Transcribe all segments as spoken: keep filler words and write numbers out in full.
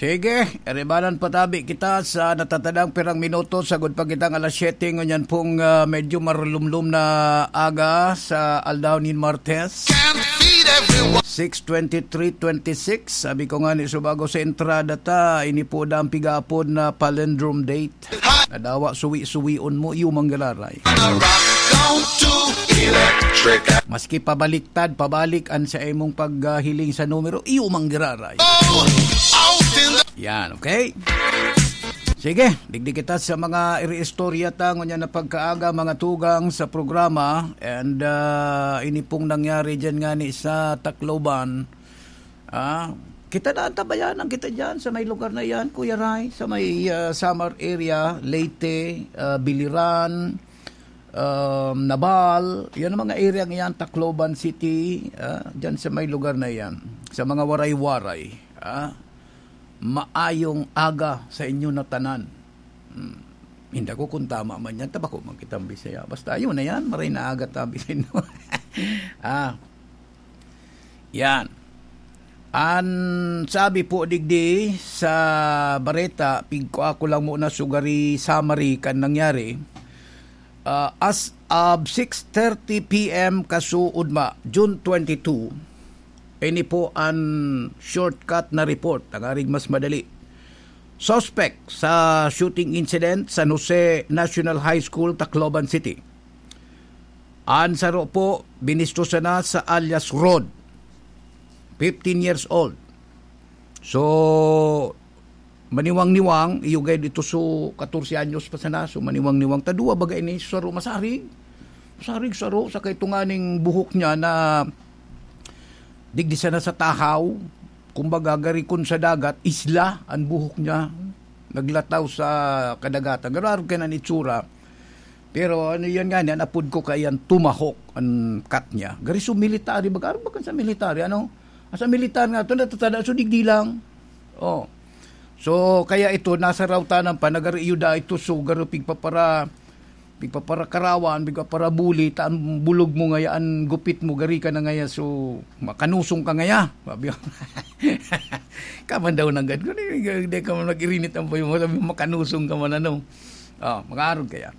Sige, eribanan patabi kita sa natatadang pirang minuto, sagod pa kitang alas siyete, ngunyan pong, ah, medyo marulumlum na aga sa aldaw nin Martes. Can't feed everyone. Six twenty-three twenty-six, sabi ko nga ni subago sa entrada ta, ini po da ang pigapod na palindrome date. Nadawa, suwi-suwion mo, iyo manggiraray. Maski pabaliktad, pabalik an sa imong paghiling sa numero, iyo manggiraray. Yan, okay? Sige, digdi kita sa mga iriistorya ta ngunyan na pagkaaga, mga tugang sa programa. And, ah, ini pong nangyari dyan nga ni sa Tacloban. Ah, kita na ang tabayanan kita dyan sa may lugar na yan, Kuya Ray, sa may, ah, Samar area, Leyte, ah, Biliran, um, Naval, yan ang mga area yan, Tacloban City, ah, dyan sa may lugar na yan, sa mga Waray-Waray, ah, maayong aga sa inyo na tanan. Hmm. Hindi ko kung tama man yan, tabako man kitang Bisaya. Basta yun na yan, maray na aga tabi sa inyo. Ah, yan. An sabi po digdi sa bareta, pigkua ko lang muna sugari summary kan nangyari. Ah, as of six thirty P M kasuodma, June twenty-two, ini po an shortcut na report, tangarig mas madali. Suspect sa shooting incident, San Jose National High School, Tacloban City. An saro po, binisto sana sa alias Rod, fifteen years old. So, maniwang-niwang, iyo gayud ito, so, katorse anyos pa sana, so, maniwang-niwang. Tadua baga ini, saro masarig. Masarig, saro, sa kaitunganing buhok niya na digdi sana sa tahaw, kumbaga, gari kun sa dagat, isla, an buhok niya, naglataw sa kadagatan. Garo-garo kaya an itsura. Pero ano yan nga, an apod ko kaya an Tomahawk, an cut niya. Gari so military, baga, arog baga sa military, ano? Sa militar nga, ito natatada, so digdi lang. Oh. So, kaya ito, nasa rawtanan pa, nagariyo da ito, so garo pigpapara, pigpaparakarawan, pigpaparabuli, ta ang bulog mo ngaya, an gupit mo, gari ka na ngaya, so makanusong ka ngaya. Sabi ko, kaman daw nanggad ko, di, di ka man mag-irinit ang puyo mo, sabi mo, makanusong ka man, ano. Oh, makaarog kaya.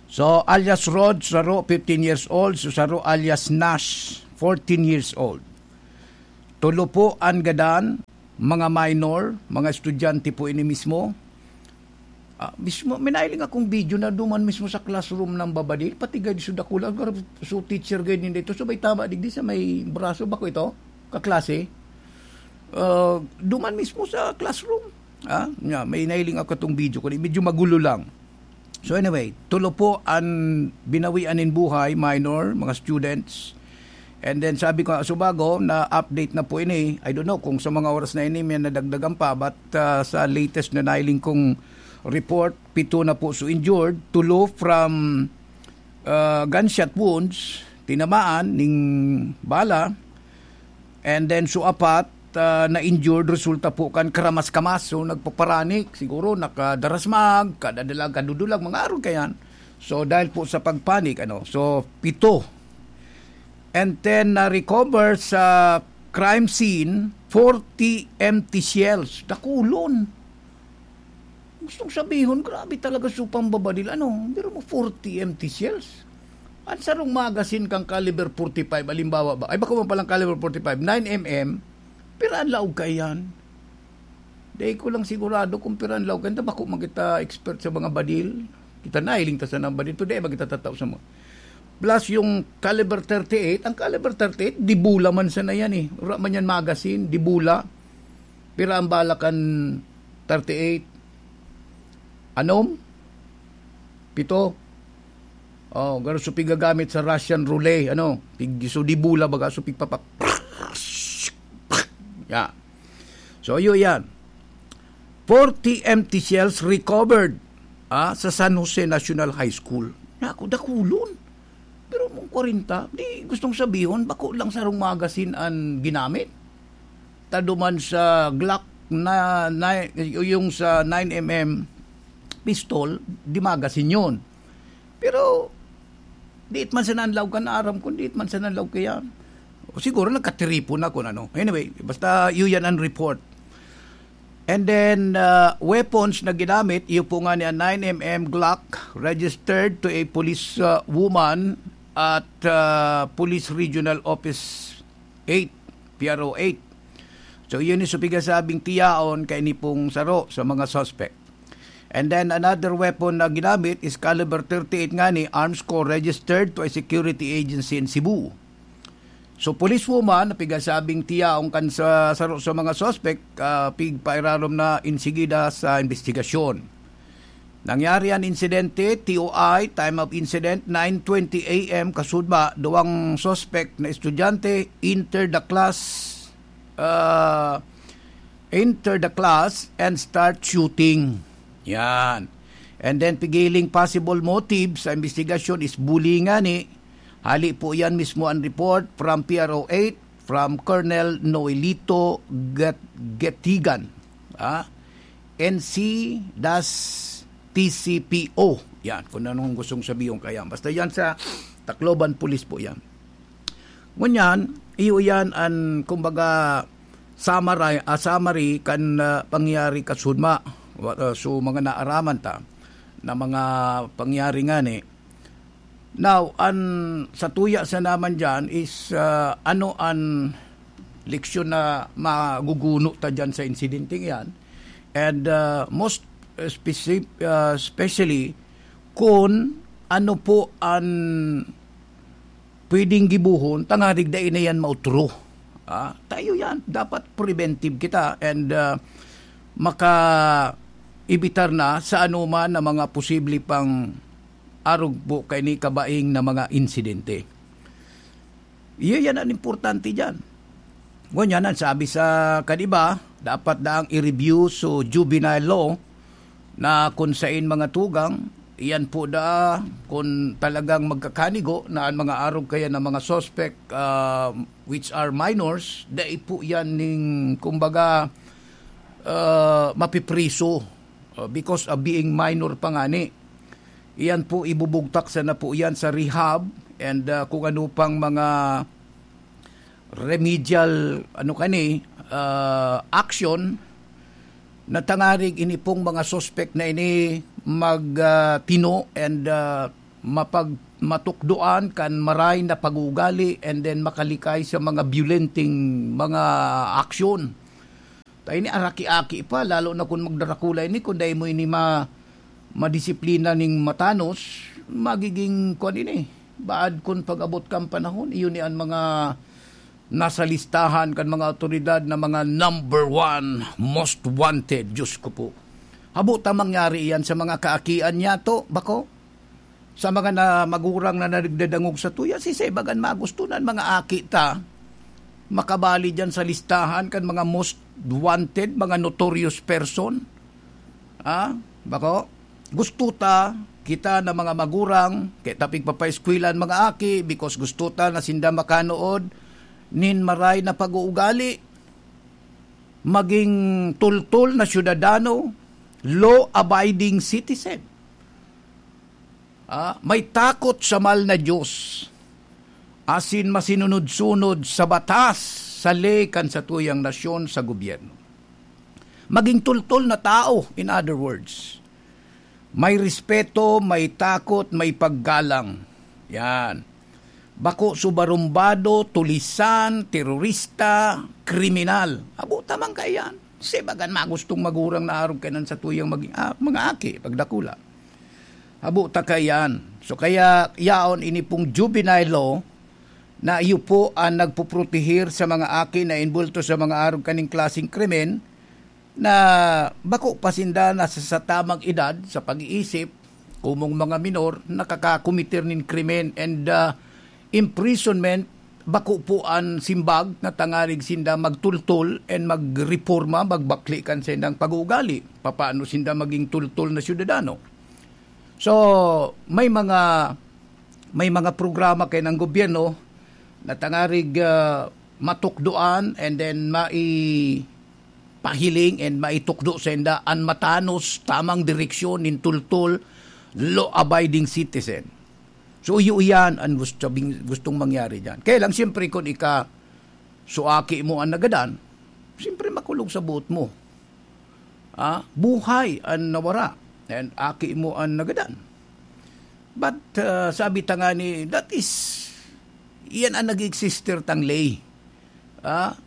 So, alias Rod, saro, fifteen years old. So, saro, alias Nash, fourteen years old. Tulo po an gadan, mga minor, mga estudyante po ini mismo. Ah, mismo, may nailing akong video na duman mismo sa classroom ng babadil, pati gayud so dakula, so teacher gayud ninda ito, so may tama digdi sa may braso, bako ito, kaklase. Ah, duman mismo sa classroom. Ah, nga, may nailing ako itong video ko, medyo magulo lang. So anyway, tulo po an binawian nin buhay, minor, mga students. And then sabi ko nga, subago, na-update na po ini. I don't know kung sa mga oras na ini may nadagdagan pa, but, ah, sa latest na nailing kong report, pito na po so injured, tulo from, ah, gunshot wounds, tinamaan ning bala, and then so apat, ah, na-injured resulta po kan karamas-kamas. So, nagpaparanik, siguro nakadarasmag, kadadalag, kadudulag, mga arog kayan. So, dahil po sa pagpanik, ano, so, pito. And then, na-recover sa crime scene, forty empty shells. Dakulon. Gustong sabihon, grabe talaga so pambabadil. Ano, pero mo forty empty shells. An sarong magazine kang caliber forty-five, halimbawa ba? Ay, bako man palang caliber forty-five, nine M M, pira an laog kaiyan? Dai ko lang sigurado kung pira an laog kaiyan. Bako man kita expert sa mga badil. Kita nailing ta sa nang badil. Today, magkita tataw sa mga. Plus yung caliber thirty-eight, ang caliber thirty-eight, dibula man sana yan eh. Wala man yan magazine, dibula. Pira ang bala kan thirty-eight? Anom? Pito? Oh, garo so pigagamit sa Russian roulette, ano? Pig, so dibula baga, so pigpapak. Yeah. So, yun yan. Forty empty shells recovered, ah, sa San Jose National High School. Naku, dakulon. Pero mong kwarenta, di gustong sabihon, bako lang sarong magazine an ginamit. Taduman sa Glock na, na, yung sa nine M M pistol, di magazine yun. Pero, diit man sa nanlaw ka, naaram kung diit man sa nanlaw kaya. O siguro nagkatiripon na kung ano. Anyway, basta yun yan ang report. And then, uh, weapons na ginamit, iyo po nga ni nine M M Glock, registered to a police uh, woman at uh, Police Regional Office eight, P R O eight. So, yun yung supigasabing tiyaon kay ni pong saro sa mga suspect. And then another weapon na ginamit is caliber thirty-eight nga ni arms ko registered to a security agency in Cebu. So, policewoman na pigasabing tiyaong kan sa saro sa mga suspect, ah, pigpairarom na insigida sa investigasyon. Nangyari an insidente, T O I, time of incident, nine twenty A M kasudma, duwang suspect na estudyante enter the class, ah, enter the class and start shooting. Yan. And then, pigiling possible motive sa investigasyon is bullying ngani. Hali po yan mismo ang report from P R O eight, from Colonel Noelito Gat- Getigan, ah, N C das T C P O. Yan, kung anong gustong sabihin kaya. Basta yan sa Tacloban Police po yan. Ngunyan, iyo yan an, kumbaga, summary, ah, summary kan, ah, pangyayari kasudma. Wa- ah, so, mga naaraman ta na mga pangyayari ngani. Now, an sa tuya sa naman dyan is, ah, ano an leksyon na maguguno ta dyan sa insidenteng yan? And, ah, most specific, ah, especially, kung ano po an pwedeng gibohon, tangarig dai na yan mautro. Ah, tayo yan, dapat preventive kita and, ah, maka-evitar na sa anuman na mga posible pang arog po kaini kabaing na mga insidente. Iyo yan ang importante dyan. Ngunyan, ang sabi sa kaniba, dapat daang i-review so juvenile law na kung sain mga tugang, iyan po da kung talagang magkakanigo na ang mga arog kaya ng mga suspect, ah, which are minors, dai po yan ning, kumbaga, ah, mapipriso, ah, because of being minor pa ngani. Iyan po, ibubugtak sana po iyan sa rehab and, ah, kung ano pang mga remedial, ano kani, ah, action na tangarig ini pong mga suspect na ini mag, ah, tino and, ah, mapag-, matukdoan kan maray na pag-uugali and then makalikay sa mga biyolenteng mga aksyon. Ta ini araki-aki pa, lalo na kun magdarakula ini, kun dai mo ini ma-, madisiplina ning matanos, magiging kuwan ini. Baad kun pag-abot kan panahon, iyo ni an mga nasa listahan kan mga awtoridad na mga number one most wanted. Diyos ko po. Habo ta mangyari iyan sa mga kaakian niyato, bako? Sa mga na, magurang na nagdadangog sa tuya, si Sebagan magusto na an mga aki ta makabali diyan sa listahan kan mga most wanted, mga notorious person. Ah, bako? Gusto ta, kita na mga magurang, kaya ta pigpapaeskwela an mga aki because gusto ta na sinda makanood nin maray na pag-uugali, maging tultol na syudadano, law-abiding citizen. Ah, may takot sa mahal na Diyos, asin masinunod-sunod sa batas, sa ley kan satuyang nasyon, sa gobyerno. Maging tultol na tao, in other words. May respeto, may takot, may paggalang. Yan. Bako subarumbado, tulisan, terorista, kriminal. Habo ta man kaiyan. Sebagan magustong magurang na arog kaiyan satuyang mag-, ah, mga aki, pagdakula. Habo ta kaiyan. So kaya yaon ini pong juvenile law na iyo po ang nagpoprotehir sa mga aki na inbulto sa mga arog kaning klaseng krimen na bako pa sinda nasa sa tamang edad sa pag-iisip, kumong mga minor, nakakakometer nin krimen and, ah, imprisonment, bako po an simbag na tangarig sinda magtultol and magreporma, magbakli kan sindang pag-uugali. Papaano sinda maging tultol na syudadano? So, may mga, may mga programa kay ng gobyerno na tangarig, ah, matukdoan and then maipahiling and maitukdo sa inda an matanos tamang direksyon nin tultol, law-abiding citizen. So, iyo iyan ang gusto, gustong mangyari dyan. Kaya lang, siyempre, kung ika, suaki mo ang nagadan, siyempre, makulog sa buot mo. Ah, buhay an nawara, and aki mo an nagadan. But, ah, sabi ta nga ni, that is, iyan an nag-exister tang ley. Ah,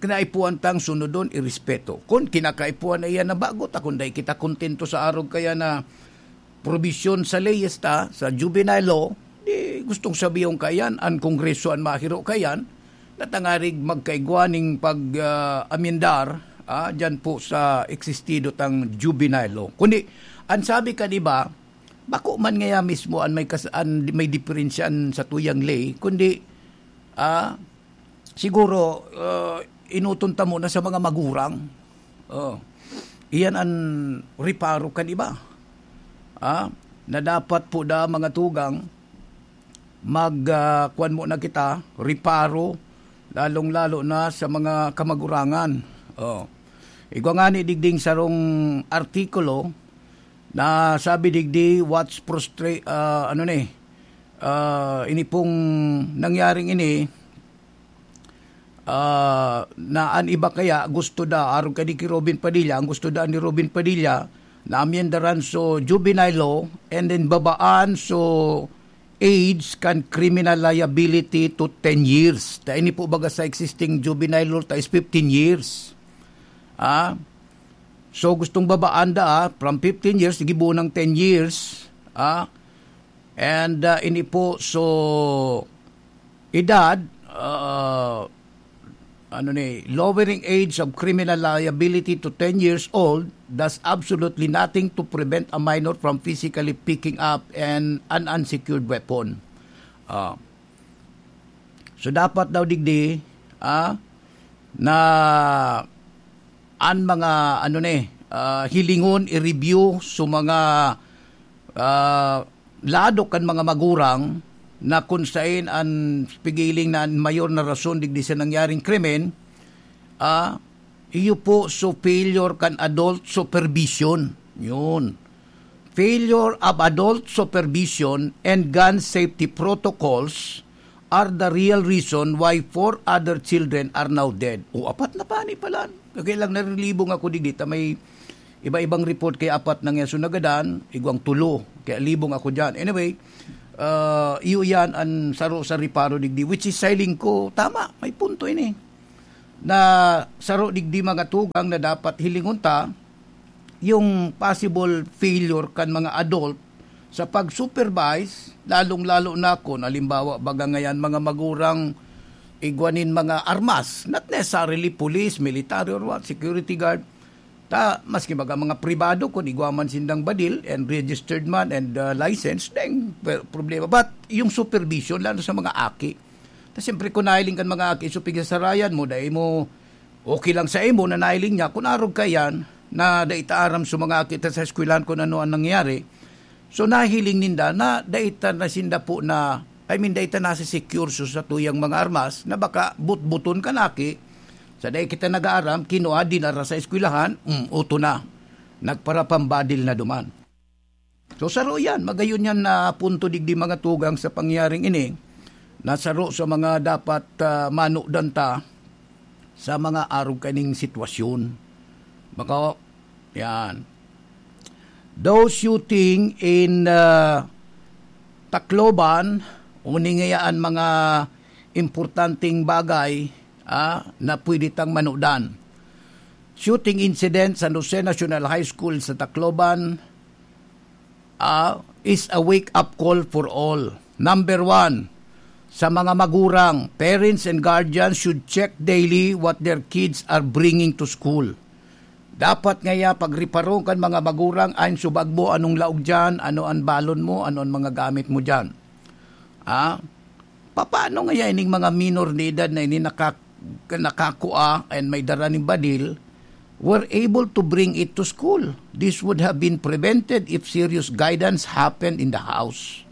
kinaipuhan tang sunodon, irespeto. Kun kinakaipuhan na iyan na bago, ta kun dai kita kontento sa arog kaya na probisyon sa leyes ta, sa juvenile law, di gustong sabihon kaiyan, an Kongreso an mahiro kaiyan, na tangarig magkaigwa ning pag, ah, amyendar, ah, dyan po sa existido tang juvenile law. Kundi, an sabi kan iba, bako man ngaya mismo an may kas-, an may diferensya an satuyang ley, kundi, ah, siguro, ah, enoton ta muna sa mga magurang. Oh. Iyan an reparo kan iba. Ah, na dapat po da mga tugang, mag, ah, kuwan muna kita, reparo, lalong-lalo na sa mga kamagurangan. Oh. Igwa ngani digding sarong artikulo na sabi digdi, what's prostra-, ah, ano ni, ah, ini pong nangyaring ini, ah, na an iba kaya gusto da, arog kadi ki Robin Padilla, ang gusto da ni Robin Padilla, na amyendaran so juvenile law, and then babaan so age kan criminal liability to ten years. Ta ini po baga sa existing juvenile law, ta is fifteen years. Ah? So, gustong babaan da, ah, from fifteen years, sige bunang ten years. Ah? And, ah, ini po, so, edad, ah, ano ni, lowering age of criminal liability to ten years old does absolutely nothing to prevent a minor from physically picking up an, an unsecured weapon. Ah. So, dapat daw digdi, ah, na an mga, ano ni, ah, hilingon, i-review so mga, ah, lado kan mga magurang na kun saen an pigiling na an mayor na rason digdi sa nangyaring krimen, ah, iyo po so failure kan adult supervision. Yun. Failure of adult supervision and gun safety protocols are the real reason why four other children are now dead. O, apat na pa ni pala. Kaya lang narilibong ako digdi ta may iba-ibang report kaya apat na nga so nagadan, igwang tulo. Kaya libong ako dyan. Anyway, ah, iyo yan an saro sa reparo digdi, which is siling ko, tama, may punto ini. Na saro digdi mga tugang na dapat hilingon ta, yung possible failure kan mga adult sa pag-supervise, lalong-lalo na kung halimbawa baga ngayan mga magurang igwa nin mga armas, not necessarily police, military or what, security guard. Ta, maski baga mga pribado, kung igwa man sindang badil and registered man and, uh, licensed, deng per-, problema. But yung supervision, lalo sa mga aki, ta siyempre kung nahiling kan mga aki, so pigsasarayan mo, dai mo okay lang sa imo na nahiling niya, kun arog ka yan, na dai ta aram sa mga kita sa eskwelahan kung ano ang nangyari. So, nahiling ninda na dai ta na sinda po na, I mean, dai ta nasa secure so sa tuyang mga armas na baka butbuton ka naki, sa dai kita nag-aaram, kinua, dinara sa eskwelahan, mm, uto na. Nagparapambadil na duman. So, saro yan. Magayon yan na punto digdi mga tugang sa pangyaring ini, na saro sa mga dapat, ah, manudan ta sa mga arog kaning sitwasyon. Maka-, yan. Those shooting in, ah, Tacloban, uning ngayaan mga importanteng bagay, ah, na pwede tang manudan. Shooting incident sa Jose National High School sa Tacloban, ah, is a wake-up call for all. Number one, sa mga magurang, parents and guardians should check daily what their kids are bringing to school. Dapat ngaya pagriparon kan mga magurang, ayon subag mo, anong laog diyan, ano an balon mo, ano an mga gamit mo diyan. Ah, papaano ngaya ining mga minor de edad na ini nakak-, nakakua and may dara ning badil, were able to bring it to school? This would have been prevented if serious guidance happened in the house.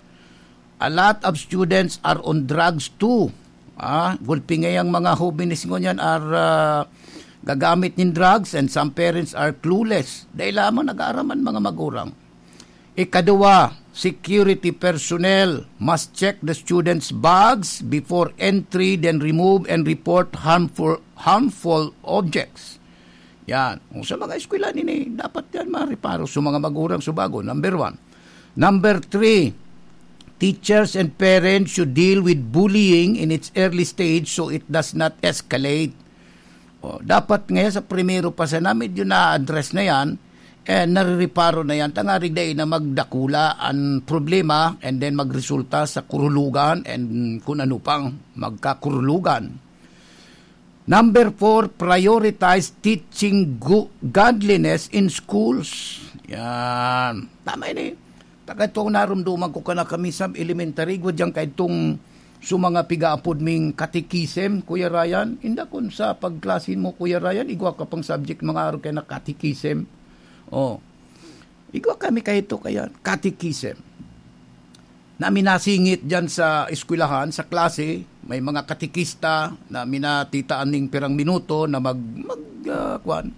A lot of students are on drugs too. Ah, gulpi ngayang mga hobenes ngunyan are, ah, gagamit nin drugs, and some parents are clueless. Dai lamang nag-aaram an mga magurang. Ikaduwa, security personnel must check the students' bags before entry, then remove and report harmful, harmful objects. Yan. O, sa mga eskwela nini, dapat yan mareparo sa mga magurang subago. Number one. Number three, teachers and parents should deal with bullying in its early stage so it does not escalate. O, dapat ngayon sa primero pa sana, medyo na-address na yan, eh, narireparo na yan, tangarig dai na magdakula ang problema and then magresulta sa kurulugan and kung ano pang magkakurulugan. Number four, prioritize teaching gu-, godliness in schools. Yan. Tama ini. Taga itong narumduman ko ka na kami sa elementary, igwa diyan kay itong sa mga pigaapod ming catechism, Kuya Ryan. Inda kun sa pagklasin mo, Kuya Ryan, igwa ka pang subject, mga araw kay na catechism. Oh. Igwa kami kay ito kaya, catechism. Na minasingit diyan sa eskwelahan, sa klase, may mga katekista na minatitaan ning pirang minuto na mag, mag, ah, kwan,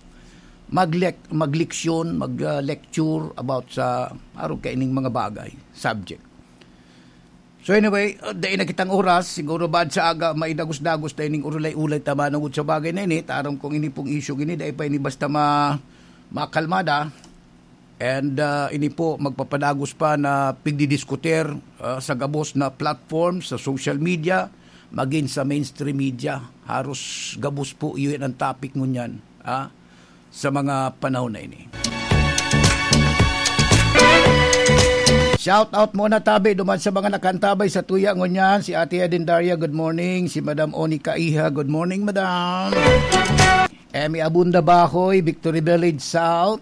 maglek-, magleksyon, mag, ah, lecture about sa araw kaining mga bagay, subject. So anyway, uh, dai na kitang oras, siguro baad sa aga, maidagos-dagos ta ining urulay-ulay ta manugod sa bagay na ini. Taram kong ini pong issue ini, dai pa ini basta ma-, makalmada. And, uh, ini po, magpapadagos pa na pigdidiskutir, uh, sa gabos na platform, sa social media, magin sa mainstream media. Haros gabos po, iyon ang topic ngunyan, ah, sa mga panahon na ini. Shout out muna, tabi, duman sa mga nakantabay sa tuya ngunyan. Si Ate Eden Daria, good morning. Si Madam Oni Kaiha, good morning, Madam. Emmy Abunda Bahoy, Victory Village South.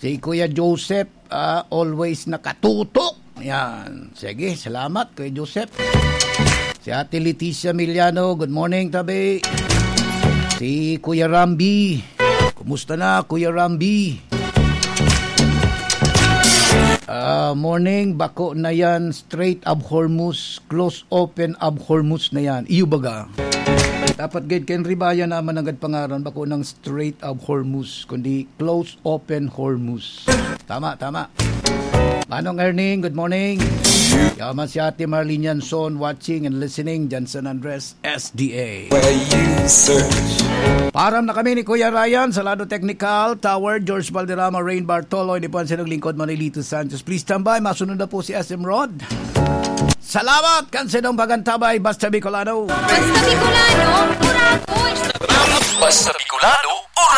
Si Kuya Joseph, ah, always nakatutok. Yan. Sige, salamat, Kuya Joseph. Si Ate Leticia Miliano, good morning, tabi. Si Kuya Rambi. Kumusta na, Kuya Rambi? Ah, morning, bako na yan, Strait of Hormuz, close open of Hormuz na yan. Iyo baga. Dapat gid ken ribaya naman ang gad pangaran, bako ng Strait of Hormuz, kundi close open Hormuz. Tama, tama. Manong Erning, good morning. Yaman si Ate Marlene Yanson, watching and listening dyan sa San Andres, S D A. Where you search. Param na kami ni Kuya Ryan sa Lado Technical Tower, George Valderrama, Rain Bartolo, ini po ang sinong lingkod, Manilito Sanchez. Please stand by. Masunod na po si S M Rod. Salamat kan sinong pagantabay, Basta Bicolano. Basta Bicolano, Purapon. Basta Bicolano, Purapon.